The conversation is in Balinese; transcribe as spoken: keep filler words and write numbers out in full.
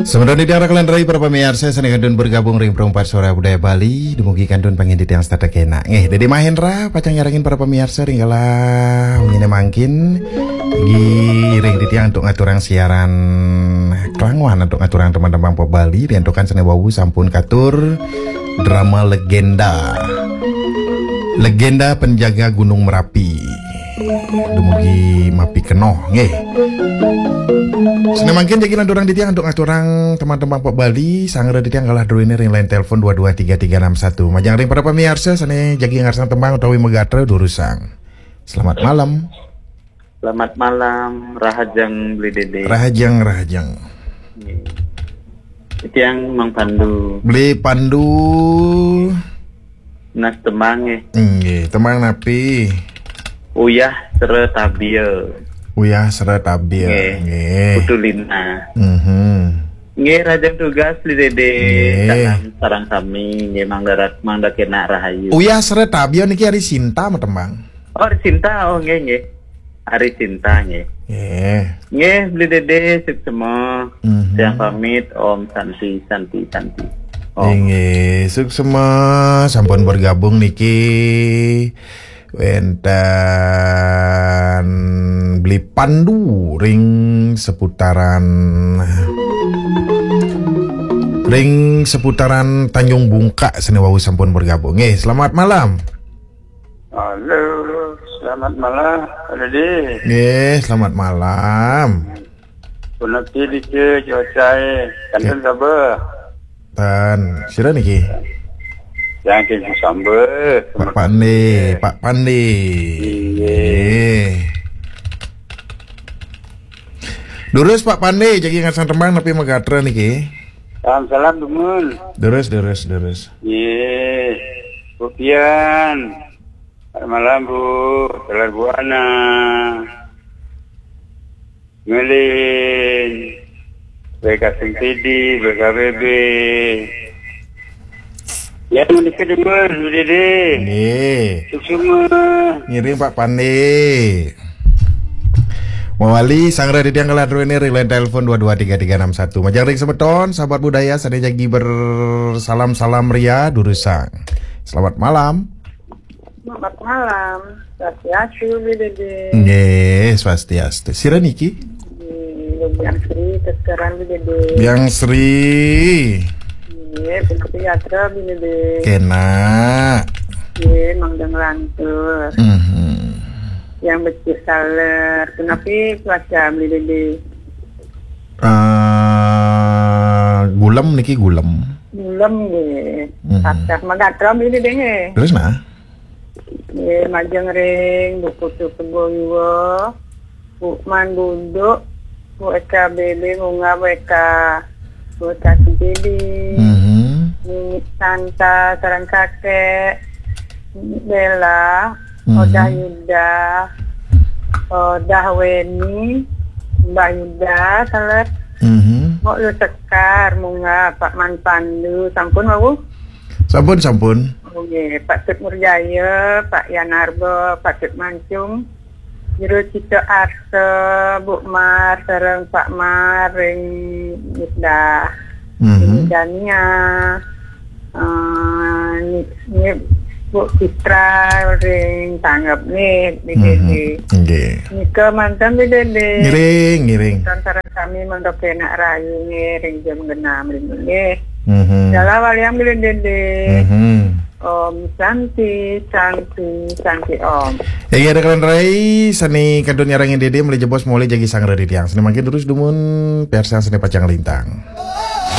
Semeton titiang raka lan rai para pamiarsa sané kantun bergabung ring Perumpat Suara Budaya Bali, dumugi kantun pangin titiang setata kénak. Nggih, Dédé Mahendra pacang nyarengin para pamiarsa ring kala wenginé mangkin. Nggih, ring titiang antuk ngaturang siaran klangoan antuk ngaturang tembang-tembang pop Bali, riantukan sané wau sampun katur drama legenda. Legenda Penjaga Gunung Merapi. Dumugi mapikenoh, nggih. Sané mangkin jagi lanturang titiang antuk ngaturang tembang-tembang pop Bali, sanggra titiang kalah druéné ring line telepon dua dua tiga tiga enam satu. Majeng ring para pamiarsa sané jagi ngarsang tembang utawi magatra durusang. Selamat malam. Selamat malam, rahajeng Beli Dédé. Rahajeng, rahajeng. Nggih. Titiang Mang Pandu. Beli Pandu. Nunas tembang nggih. Nggih, tembang napi? Uyah Sera Tabia. Uyah Sera Tabia. Nggih. Nggih. Putu Lina. Mhm. Nggih, rahajeng tugas Beli Dédé. Nggih. Salam sareng sami, nggih, mangda rat-, mangda kénak rahayu. Uyah Sera Tabia niki Ari Sinta matembang. Oh, Ari Sinta, oh nggih, nggih. Ari Sinta nggih. Nggih. Nggih, Beli Dédé, suksma. Mhm. Titiang pamit, Om Santi, Santi, Santi. Om. Inggih, suksma sampun bergabung niki wénten Beli Pandu ring seputaran, ring seputaran Tanjung Bungka sané wau sampun bergabung. Nggih, selamat malam. Halo, selamat malam, Pak Dédé. Nggih, selamat malam. Punapi dike cuacaé? Kantun kaba? Tan, sira niki? Yang kengku samba. Pak Pande, Pak Pande. Iya. Nggih. Durus Pak Pande, jagi ngarsang tembang napi magatra niki? Salam-salam dumun. Durus, durus, durus. Nggih. Bu Pian. Selamat malam, Bu. Telar Buana. Ngelin. B K Sing T D, B K B B. Ya, menika demen, Bu Dédé. Nggih. Suksma. Ngiring Pak Pande. Mawali sanggra titiang kalah druéné ring line telepon dua dua tiga tiga enam satu. Majeng ring semeton, sahabat budaya, sané jagi bersalam-salam ria, durusang. Selamat malam. Selamat malam. Swastiastu, Beli Dédé. Nggih, swastiastu. Sira niki? Nggih, Biang Sri, keseran, Beli Dédé. Biang Sri. Nggih, punapi gatra, Beli Dédé. Kénak. Nggih, mangda nglantur. Mhm. Yang becik saler. Punapi cuaca, Beli Dédé? Ah, gulem niki, gulem. Gulem nggih. Mhm. Tatas magatra Beli Dédé nggih. Terus nah? Nggih, majeng ring Bu Putu Kebo Iwa, Bu Man Buduk, Bu Eka B B Bunga, Bu Eka, Bu Eka Sing T D, Mhm. Nini Santa sareng Kakek, Nini Bella, Mhm. Odah Yuda, Odah Weni, Mbah Yuda, salah. Mhm. Mbok Lu Sekar, Munga, Pak Man Pandu, sampun wau? Sampun, sampun. Oh, nggih, Pak Tut Murjaya, Pak Yanarba, Pak Tut Mancung, Jero Cita Arsa, Bu Mar, sareng Pak Mar, ring Misdah. Mhm. Ring Dania, eh, ni, ni, Bu Citra, ring Tanggap nih, di Mhm. Dede. Nggih. Nika manten di Dede. Ngiring, ngiring. Manten sareng sami mangda kenak rahayu nggih, ring jam genah mriki nggih. Mhm. Dalah waliang Beli Dédé. Mhm. Om Santi, Santi, Santi Om. Inggih, raka lan rai, sané kantun nyarengin Dédé, malih jebos malih jagi sanggra titiang. Sané mangkin terus dumun, piarsang sané pacang lintang.